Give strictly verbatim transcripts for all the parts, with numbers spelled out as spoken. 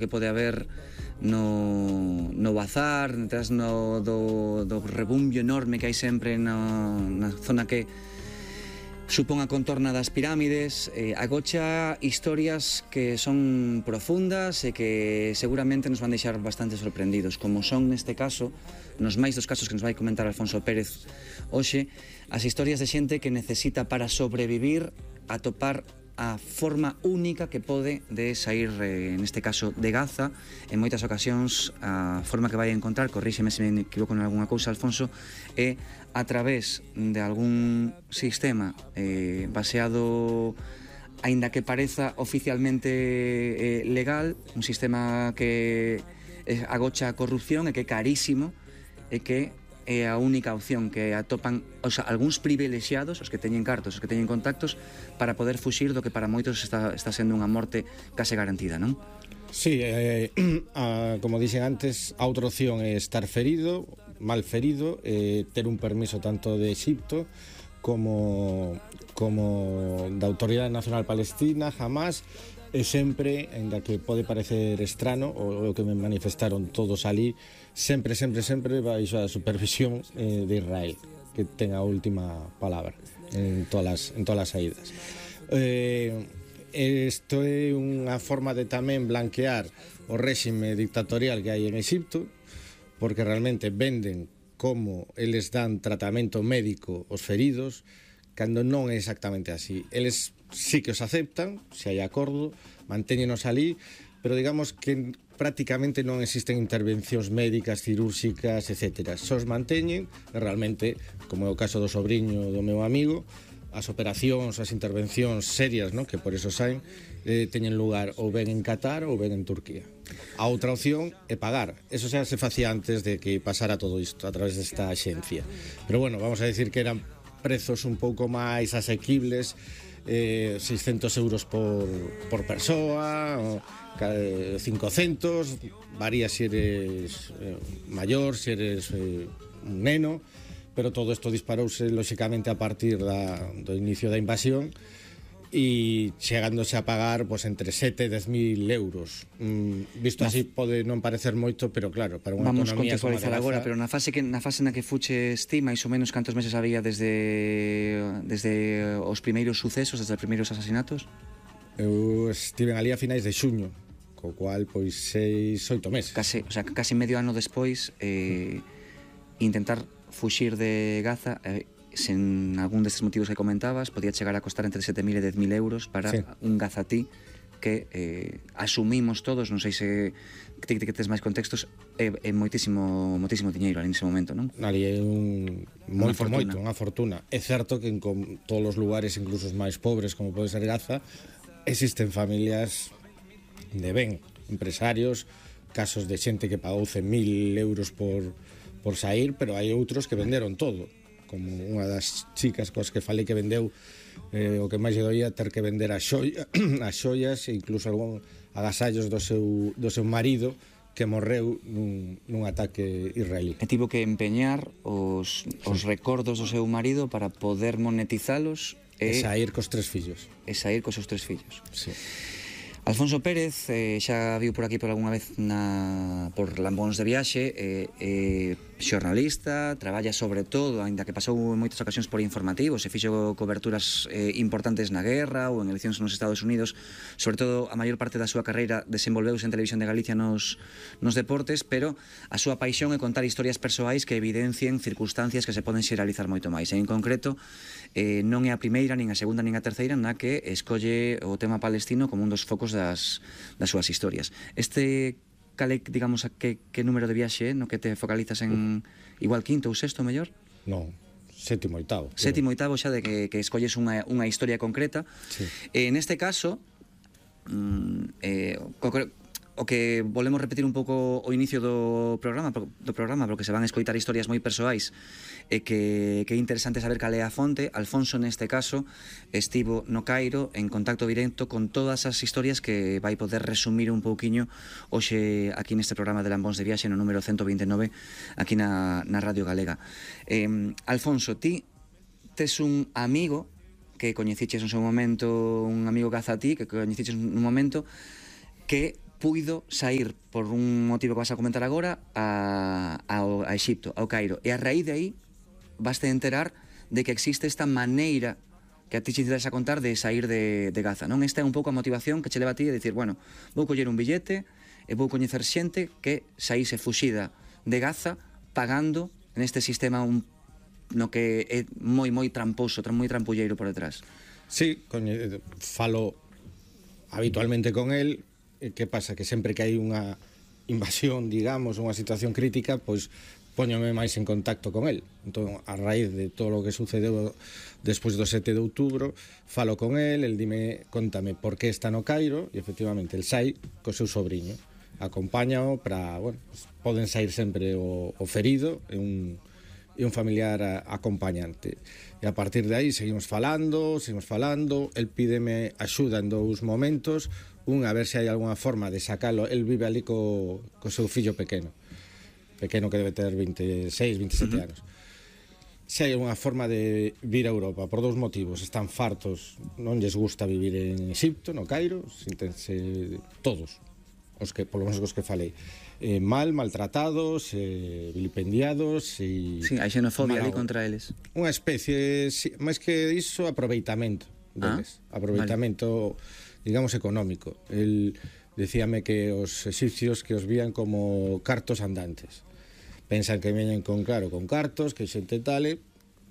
que pode haber no, no bazar, detrás no, do, do rebumbio enorme que hai sempre no, na zona que supón a contorna das pirámides, eh, agocha historias que son profundas e que seguramente nos van deixar bastante sorprendidos, como son neste caso, nos máis dos casos que nos vai comentar Alfonso Pérez hoxe, as historias de xente que necesita para sobrevivir atopar a forma única que pode de sair, eh, neste caso, de Gaza. En moitas ocasións, a forma que vai encontrar, corríxeme se me equivoco en algunha cousa, Alfonso, é a través de algún sistema eh, baseado, aínda que pareza oficialmente eh, legal, un sistema que eh, agocha a corrupción e que é carísimo e que é a única opción que atopan, o sea, algúns privilexiados, os que teñen cartos, os que teñen contactos, para poder fuxir do que para moitos está, está sendo unha morte case garantida, non? Sí, eh, a, como dixen antes, a outra opción é estar ferido, mal ferido, eh, ter un permiso tanto de Exipto como, como da Autoridade Nacional Palestina, Hamas, e sempre, ainda que pode parecer estrano, o, o que me manifestaron todos ali, sempre, sempre, sempre baixo a supervisión eh, de Israel, que ten a última palabra en todas as, en todas as saídas. Eh, isto é unha forma de tamén blanquear o réxime dictatorial que hai en Exipto, porque realmente venden como eles dan tratamento médico aos feridos, cando non é exactamente así. Eles sí que os aceptan, se hai acordo, mantéñenos ali, pero digamos que prácticamente non existen intervencións médicas, cirúrxicas, etcétera. Só os manteñen, e realmente, como é o caso do sobriño do meu amigo, as operacións, as intervencións serias, ¿no?, que por eso saen, eh, teñen lugar ou ben en Qatar ou ben en Turquía. A outra opción é pagar. Eso xa se facía antes de que pasara todo isto a través desta axencia. Pero bueno, vamos a decir que eran prezos un pouco máis asequibles, eh, seiscentos euros por, por persoa, o, eh, cincocentos, varía se eres eh, maior, se eres eh, un neno, pero todo isto disparouse lóxicamente a partir da, do inicio da invasión e chegándose a pagar pues, entre sete e dez mil euros. Mm, visto así pode non parecer moito, pero claro, para unha vamos economía como a de contextualizar agora, pero na fase que na fase na que fuches ti, máis ou menos cantos meses había desde desde os primeiros sucesos, desde os primeiros asasinatos? Eu estive ali a finais de xuño, co cual pois seis, oito meses. Case, o sea, case medio ano despois eh, intentar fuxir de Gaza, eh, sen algún destes motivos que comentabas, podía chegar a costar entre sete mil e dez mil euros para sí. un gazatí que eh, asumimos todos, non sei se que, que tes máis contextos, é, é moitísimo, moitísimo diñeiro ali nese momento, non? Ali é un moito, moito, unha fortuna. É certo que en con todos os lugares, incluso os máis pobres, como pode ser Gaza, existen familias de ben, empresarios, casos de xente que pagou cen mil euros por, por sair, pero hai outros que venderon todo, como unha das chicas coas que falei que vendeu eh, o que máis lle doía ter que vender as xoias, as xoias e incluso algún agasallos do seu, do seu marido que morreu nun, nun ataque israelí. E tivo que empeñar os, os recordos do seu marido para poder monetizalos e, e sair cos tres fillos. E sair cos seus tres fillos. Sí. Alfonso Pérez eh, xa viu por aquí por algunha vez na, por Lambóns de Viaxe, eh, eh, xornalista, traballa sobre todo, aínda que pasou en moitas ocasións por informativos, e fixo coberturas eh, importantes na guerra ou en eleccións nos Estados Unidos, sobre todo a maior parte da súa carreira desenvolveuse en Televisión de Galicia nos, nos deportes, pero a súa paixón é contar historias persoais que evidencien circunstancias que se poden xeralizar moito máis. En concreto, eh, non é a primeira, nin a segunda, nin a terceira na que escolle o tema palestino como un dos focos das, das súas historias. Este cal é, digamos, a que, que número de viaxe no que te focalizas en igual quinto ou sexto, mellor? Non, sétimo, oitavo. Sétimo, oitavo xa de que, que escolles unha, unha historia concreta. Sí. Eh, neste caso, mm, eh, o que volvemos repetir un pouco o inicio do programa, do programa, porque se van a escoitar historias moi persoais e que, que é interesante saber cal é a fonte. Alfonso, neste caso, estivo no Cairo en contacto directo con todas as historias que vai poder resumir un pouquiño hoxe aquí neste programa de Lambóns de Viaxe no número ciento vinte e nove aquí na, na Radio Galega. eh, Alfonso, ti tes un amigo que coñeciches no seu momento, un amigo gazatí que coñeciches nun momento que puido sair por un motivo que vas a comentar agora a, a, a Exipto, ao Cairo, e a raíz de aí vas a enterar de que existe esta maneira que a ti te interesa contar de sair de, de Gaza, non? Esta é un pouco a motivación que che leva a ti a dicir, bueno, vou coller un billete e vou coñecer xente que saíse fuxida de Gaza pagando neste sistema un, no que é moi, moi tramposo, moi trampulleiro por detrás. Sí, coñe, falo habitualmente con el. Que pasa? Que sempre que hai unha invasión, digamos, unha situación crítica, pois póñome máis en contacto con el. Entón, a raíz de todo o que sucedeu despois do sete de outubro, falo con el, el dime, contame por que está no Cairo, e efectivamente el sai co seu sobrinho, acompáñao para, bueno, poden sair sempre o, o ferido e un, e un familiar a, acompañante. E a partir de aí seguimos falando, seguimos falando, el pídeme axuda en dous momentos, un, a ver se hai algunha forma de sacalo. El vive ali co, co seu fillo pequeno, pequeno que debe ter veintiséis, veintisiete uh-huh. anos. Se hai algunha forma de vir a Europa, por dous motivos: están fartos, non lles gusta vivir en Exipto, no Cairo, sintense todos, os que, polo menos os que falei, eh, mal, maltratados, eh, vilipendiados e... Sí, hai xenofobia ali contra eles. Unha especie, si, máis que iso, aproveitamento deles, ah, aproveitamento, vale, digamos, económico. El decíame que os egipcios que os vían como cartos andantes. Pensan que veñen con, claro, con cartos, que xente tale,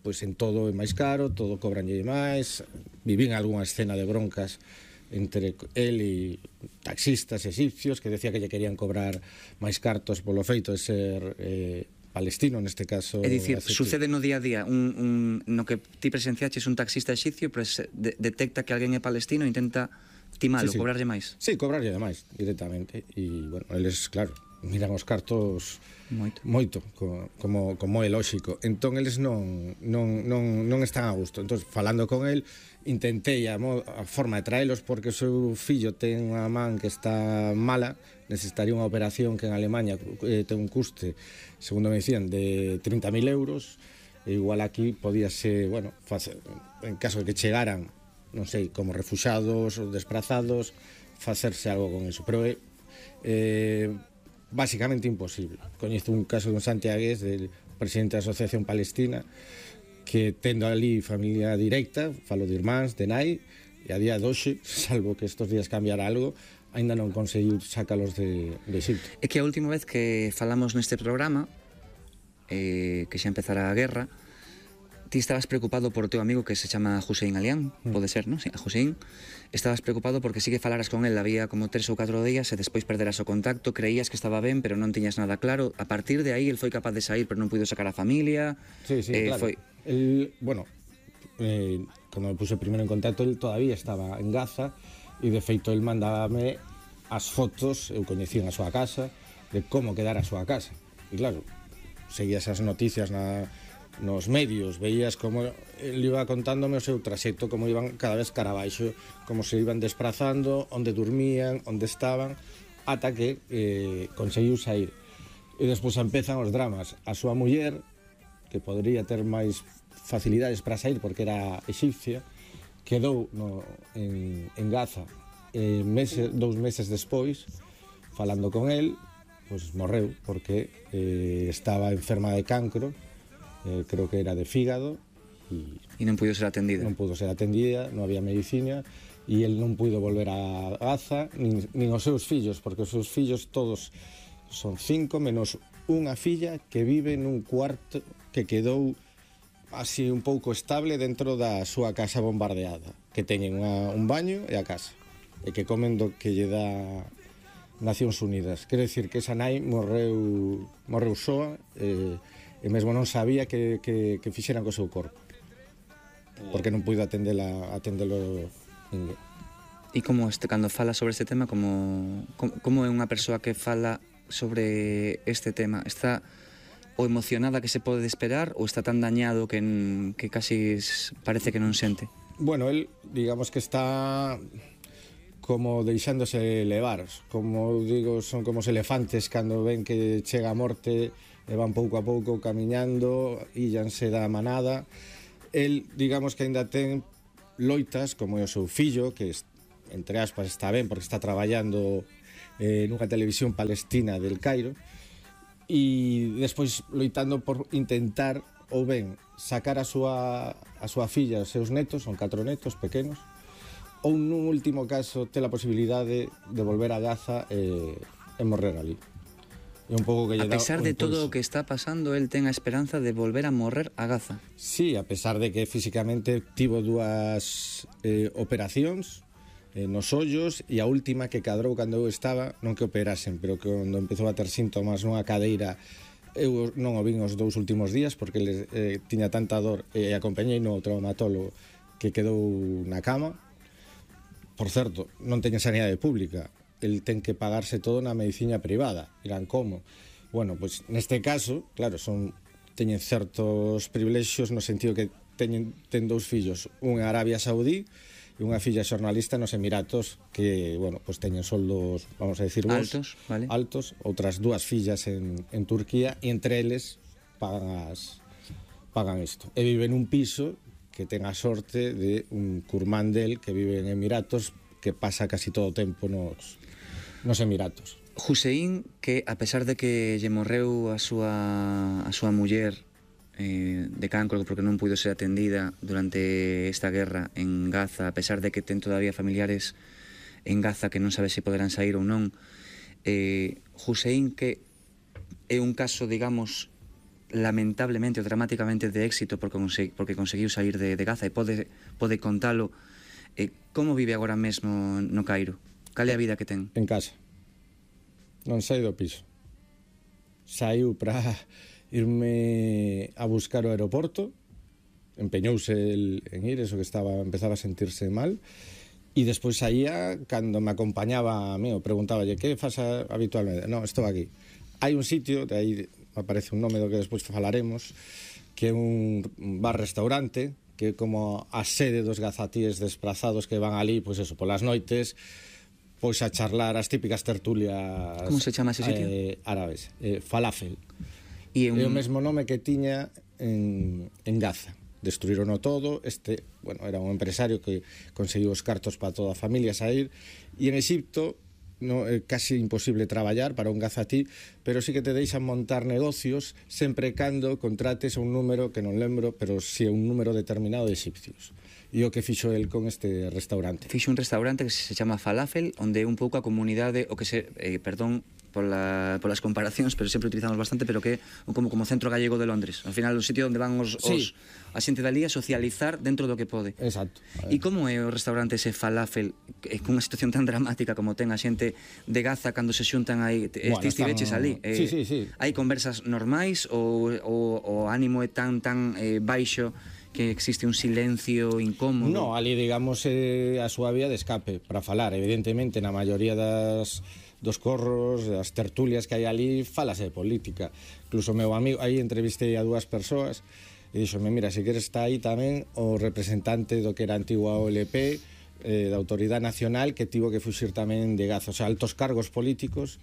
pois en todo é máis caro, todo cobranlle máis. Vivín algunha escena de broncas entre el e taxistas egipcios que decía que lle querían cobrar máis cartos polo feito de ser eh, palestino, neste caso. É dicir, sucede no día a día un, un, no que ti presenciaches un taxista egipcio, pues, de, detecta que alguén é palestino e intenta timalo, sí, sí, cobrarlle máis. Sí, cobrarlle máis directamente. E, bueno, eles, claro, miran os cartos moito, moito como, como, como é lóxico. Entón, eles non, non, non, non están a gusto. Entón, falando con el, intentei a, mo, a forma de traelos, porque o seu fillo ten unha man que está mala, necesitaría unha operación que en Alemania eh, ten un custe, segundo me dicían, de trinta mil euros, e igual aquí podíase, bueno, facer, en caso de que chegaran, non sei, como refuxados ou desprazados, facerse algo con eso. Pero é eh, básicamente imposible. Coñezo un caso dun santiagués, del presidente da Asociación Palestina, que tendo ali familia directa, falo de irmáns, de nai, e a día de hoxe, salvo que estos días cambiara algo, aínda non conseguiu sacalos de, de Egipto. É que a última vez que falamos neste programa, eh, que xa empezara a guerra, ti estabas preocupado por o teu amigo que se chama Hussein Alián, mm. pode ser, non? Sí, a Hussein. Estabas preocupado porque sí que falaras con él, había como tres ou catro días e despois perderas o contacto, creías que estaba ben, pero non tiñas nada claro. A partir de aí, el foi capaz de sair, pero non puido sacar a familia. Sí, sí, eh, claro. Foi... El, bueno, eh, cando me puse primeiro en contacto, el todavía estaba en Gaza, e de feito el mandábame as fotos, eu coñecía a súa casa, de como quedara a súa casa. E claro, seguías as noticias na... nos medios, veías como ele iba contándome o seu traxecto, como iban cada vez cara abaixo, como se iban desplazando, onde dormían, onde estaban, ata que eh, conseguiu sair. E despois empezan os dramas. A súa muller, que podría ter máis facilidades para sair porque era egipcia, quedou no, en, en Gaza e meses, dous meses despois, falando con el, pues morreu porque eh, estaba enferma de cancro. Eh, creo que era de fígado e, e non pudo ser atendida non pudo ser atendida, non había medicina e el non pudo volver a Gaza nin, nin os seus fillos, porque os seus fillos todos son cinco menos unha filla que vive nun cuarto que quedou así un pouco estable dentro da súa casa bombardeada, que teñen unha, un baño e a casa, e que comen do que lle dá Nacións Unidas. Quero dicir que esa nai morreu morreu soa e eh, e mesmo non sabía que, que, que fixeran co seu corpo, porque non puido atendela, atendelo ninguén. E como este, cando fala sobre este tema, como, como, como é unha persoa que fala sobre este tema? Está o emocionada que se pode esperar ou está tan dañado que, que casi parece que non sente? Bueno, él, digamos que está como deixándose levar, como digo, son como os elefantes cando ven que chega a morte e van pouco a pouco camiñando, íllanse da manada. El, digamos que aínda ten loitas, como é o seu fillo, que entre aspas está ben porque está traballando eh, nunha televisión palestina del Cairo, e despois loitando por intentar ou ben sacar a súa, a súa filla, os seus netos, son catro netos pequenos, ou nun último caso ter a posibilidade de volver a Gaza e, e morrer ali. E un pouco que lle a dá pesar un de todo impulso. o que está pasando, el ten a esperanza de volver a morrer a Gaza. Sí, a pesar de que físicamente tivo dúas eh, operacións eh, nos ollos, e a última que cadrou cando eu estaba, non que operasen, pero que cando empezou a ter síntomas nunha cadeira, eu non o vin os dous últimos días porque ele eh, tiña tanta dor, e acompañei no traumatólogo que quedou na cama. Por certo, non teña sanidade pública, el ten que pagarse todo na medicina privada. Irán, como? Bueno, pois pues, neste caso, claro, son teñen certos privilexios no sentido que teñen ten dous fillos, un en Arabia Saudí e unha filla xornalista nos Emiratos que, bueno, pues teñen soldos, vamos a decir, vos, altos, vale. altos, outras dúas fillas en, en Turquía, e entre eles pagan as pagan isto. E viven un piso que ten a sorte de un curmán del que vive en Emiratos, que pasa casi todo o tempo nos nos Emiratos. Hussein, que a pesar de que lle morreu a súa a súa muller eh, de cancro porque non puido ser atendida durante esta guerra en Gaza, a pesar de que ten todavía familiares en Gaza que non sabe se poderán sair ou non, eh, Hussein, que é un caso, digamos, lamentablemente ou dramáticamente de éxito porque, consegui, porque conseguiu sair de, de Gaza e pode, pode contalo, eh, como vive agora mesmo no Cairo? Cal é a vida que ten? En casa. Non sai do piso. Saiu para irme a buscar o aeroporto, empeñouse el, en ir, eso que estaba, empezaba a sentirse mal, e despois saía, cando me acompañaba a mí, o preguntaballe, que faz habitualmente? Non, estou aquí. Hai un sitio, de aí aparece un nome do que despois falaremos, que é un bar-restaurante, que é como a sede dos gazatíes desplazados que van ali, pois eso, polas noites, pois a charlar as típicas tertulias. Como se chama ese sitio? Eh, árabes, eh, falafel. E un... É o mesmo nome que tiña en, en Gaza. Destruírono todo. Este, bueno, era un empresario que conseguiu os cartos para toda a familia sair, e en Exipto no, é casi imposible traballar para un gazatí, pero sí que te deixan montar negocios sempre e cando contrates a un número que non lembro, pero si é un número determinado de egipcios. E o que fixo el con este restaurante? Fixo un restaurante que se chama Falafel, onde un pouco a comunidade, o que se, eh, perdón pola, polas comparacións, pero sempre utilizamos bastante, pero que é como, como centro gallego de Londres. Al final, o sitio onde van os, sí. os a xente dali a socializar dentro do que pode. Exacto. E como é o restaurante ese Falafel, eh, con unha situación tan dramática como ten a xente de Gaza cando se xuntan aí, bueno, estes tiveches ali? Eh, sí, sí, sí. Hai conversas normais ou o ánimo é tan tan eh, baixo que existe un silencio incómodo? No, ali, digamos, eh, a súa vía de escape para falar. Evidentemente, na maioría das dos corros, das tertulias que hai ali, falase de política. Incluso o meu amigo, aí entrevistei a dúas persoas e dixome, mira, se queres está aí tamén o representante do que era a antigua O L P, eh, da Autoridade Nacional, que tivo que fuxir tamén de Gaza. O sea, altos cargos políticos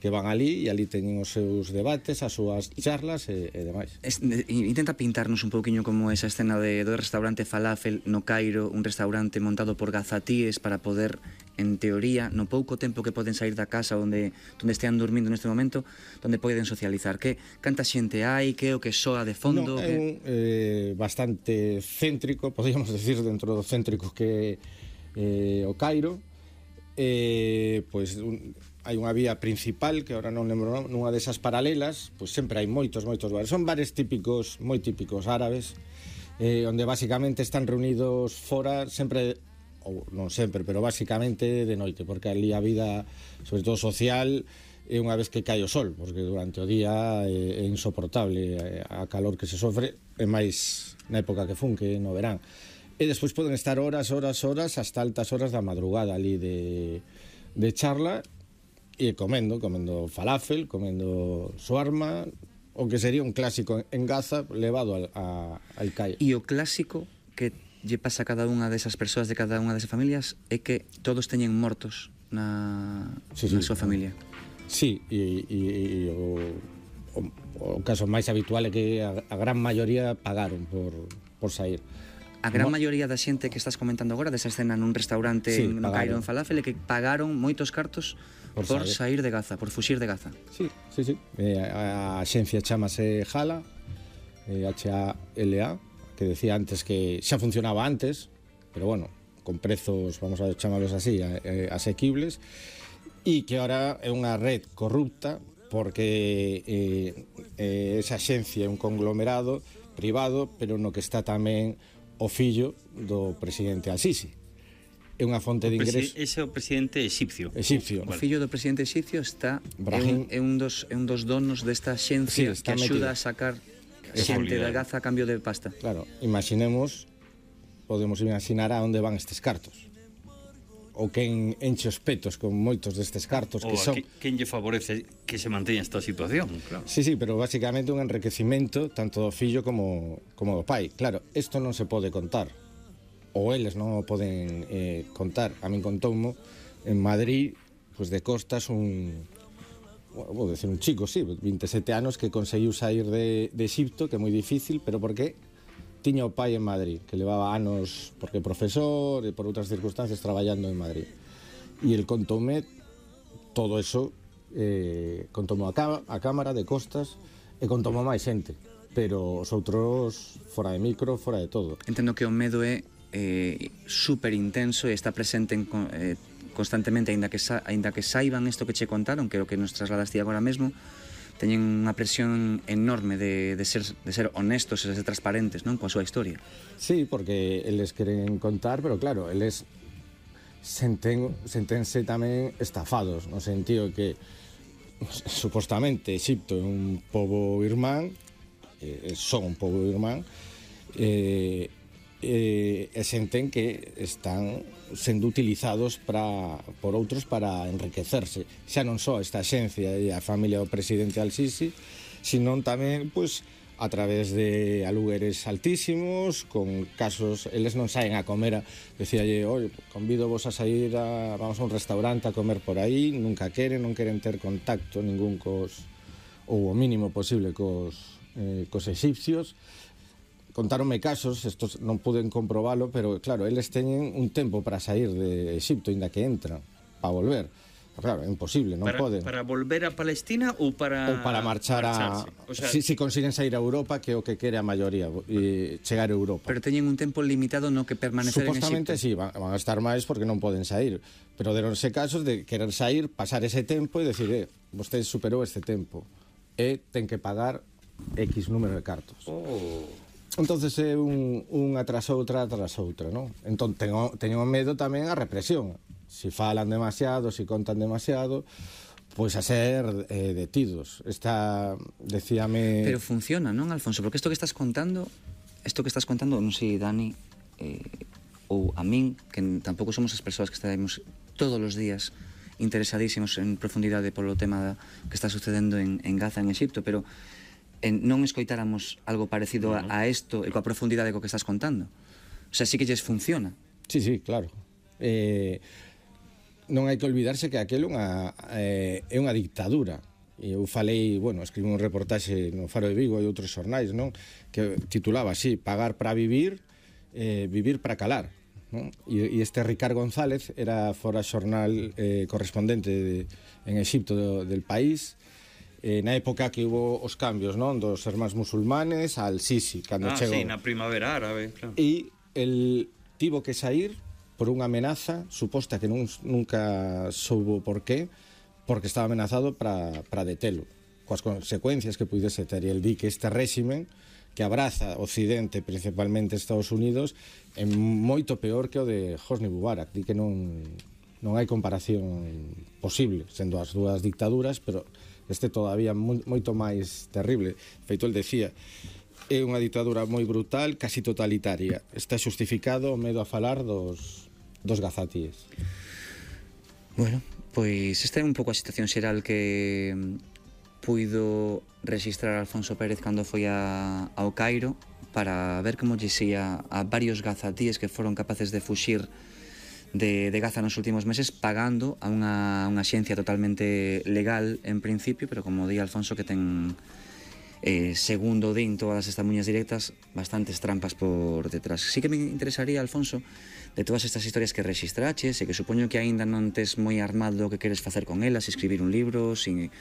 que van ali, e ali teñen os seus debates, as súas charlas e, e demais. Es, de, intenta pintarnos un pouquiño como esa escena de, do restaurante Falafel no Cairo, un restaurante montado por gazatíes para poder, en teoría, no pouco tempo que poden sair da casa onde, onde estean dormindo neste momento, onde poden socializar. Que canta xente hai, que o que soa de fondo? No, é que... un, eh, bastante céntrico, podríamos decir, dentro do céntrico que é eh, o Cairo. Eh, pois un, hai unha vía principal que agora non lembro, nunha desas paralelas, pois sempre hai moitos, moitos bares. Son bares típicos, moi típicos árabes, eh, onde basicamente están reunidos fora sempre, ou non sempre, pero basicamente de noite, porque ali a vida, sobre todo social, é unha vez que cae o sol, porque durante o día é, é insoportable a calor que se sofre, é máis na época que fun, que no verán. E despois poden estar horas, horas, horas, hasta altas horas da madrugada ali de, de charla, e comendo, comendo falafel, comendo shawarma, o que sería un clásico en Gaza levado al, a, al Cairo. E o clásico que lle pasa a cada unha desas persoas de cada unha desas familias é que todos teñen mortos na, sí, na sí, súa familia. Sí, e, e, e o, o, o caso máis habitual é que a, a gran maioría pagaron por, por sair. A gran maioría da xente que estás comentando agora, desa escena nun restaurante sí, no Cairo en Falafel, é que pagaron moitos cartos por, por sair. sair de Gaza, por fuxir de Gaza. Sí, sí, sí. Eh, a, a xencia chamase Hala, eh, H A L A, que decía antes que xa funcionaba antes, pero bueno, con prezos, vamos a chamarlos así, eh, asequibles, e que ahora é unha red corrupta porque eh, eh, esa xencia é un conglomerado privado, pero no que está tamén o fillo do presidente Al-Sisi. É unha fonte de ingreso. Ese é o presidente exipcio. Exipcio. O fillo do presidente exipcio está Brahim, é, un, é, un dos, é un dos donos desta xencia sí, que axuda metido. a sacar xente da Gaza a cambio de pasta. Claro, imaginemos, podemos imaginar a onde van estes cartos. Ou quen enche os petos con moitos destes cartos que son... Quen lle favorece que se manteña esta situación, claro. Sí, sí, pero basicamente un enriquecimento tanto do fillo como, como do pai. Claro, isto non se pode contar. Ou eles non o poden eh, contar. A min contoumo en Madrid, pues de costas, un... vou decir un chico, sí, vinte e sete anos que conseguiu sair de, de Exipto, que é moi difícil, pero por que? Tiña o pai en Madrid, que levaba anos, porque profesor e por outras circunstancias traballando en Madrid. E el contoume todo eso, eh, contoume a, a cámara de costas e contoume máis xente, pero os outros fora de micro, fora de todo. Entendo que o medo é eh, super intenso e está presente en, eh, constantemente, aínda que, sa, aínda que saiban isto que che contaron, que é o que nos trasladas ti agora mesmo, teñen unha presión enorme de, de, ser, de ser honestos e de ser transparentes, non, coa súa historia. Sí, porque eles queren contar, pero claro, eles senten, sentense tamén estafados, no sentido que supostamente Exipto é un pobo irmán, eh, son un pobo irmán, eh, eh, e senten que están sendo utilizados para, por outros para enriquecerse. Xa non só esta xencia e a familia do presidente Al-Sisi, senón tamén, pois, a través de alugueres altísimos, con casos, eles non saen a comer, a, decíalle, oi, convido vos a sair a, vamos a un restaurante a comer por aí, nunca queren, non queren ter contacto ningún cos, ou o mínimo posible cos, eh, cos exipcios. Contáronme casos, estos non puden comprobalo, pero claro, eles teñen un tempo para sair de Exipto, inda que entran, para volver. Pero claro, é imposible, non para, poden. Para volver a Palestina ou para... Ou para marchar a... O sea, si, si consiguen sair a Europa, que é o que quere a maioría, e chegar a Europa. Pero teñen un tempo limitado no que permanecer en Exipto. Supostamente sí, van, van a estar máis porque non poden sair. Pero deronse casos de querer sair, pasar ese tempo e decir, eh, vostede superou este tempo. E ten que pagar X número de cartos. Oh... Entonces é un, unha tras outra tras outra, non? Entón teño, teño medo tamén a represión. Si falan demasiado, si contan demasiado, pois a ser eh, detidos. Esta, decíame... Pero funciona, non, Alfonso? Porque isto que estás contando, isto que estás contando, non sei, Dani, eh, ou a min, que tampouco somos as persoas que estaremos todos os días interesadísimos en profundidade polo tema da, que está sucedendo en, en Gaza, en Exipto, pero en, non escoitáramos algo parecido a, a isto e coa profundidade co que estás contando. O sea, sí que lles funciona. Sí, sí, claro. Eh, non hai que olvidarse que aquelo unha, eh, é unha dictadura. E eu falei, bueno, escribí un reportaxe no Faro de Vigo e outros xornais, non? Que titulaba así, pagar para vivir, eh, vivir para calar. Non? E, e este Ricard González era fora xornal eh, correspondente de, en Exipto do, del país, eh, na época que hubo os cambios, non, dos hermanos musulmanes al Sisi, cando ah, chegou. sí, na primavera árabe, claro. E el tivo que sair por unha amenaza suposta que non, nunca soubo por qué, porque estaba amenazado para, para detelo, coas consecuencias que puidese ter. E el di que este réximen que abraza Occidente, principalmente Estados Unidos, é moito peor que o de Hosni Mubarak. Di que non, non hai comparación posible, sendo as dúas dictaduras, pero este todavía moito máis terrible. Feito, el decía, é unha dictadura moi brutal, casi totalitaria. Está xustificado o medo a falar dos, dos gazatíes. Bueno, pois esta é un pouco a situación xeral que puido registrar Alfonso Pérez cando foi a, ao Cairo para ver como lle xía a varios gazatíes que foron capaces de fuxir de, de Gaza nos últimos meses pagando a unha, unha xencia totalmente legal en principio, pero como di Alfonso que ten eh, segundo din todas estas muñas directas, bastantes trampas por detrás. Sí que me interesaría, Alfonso, de todas estas historias que registraches e que supoño que aínda non tes moi armado o que queres facer con elas, escribir un libro, sin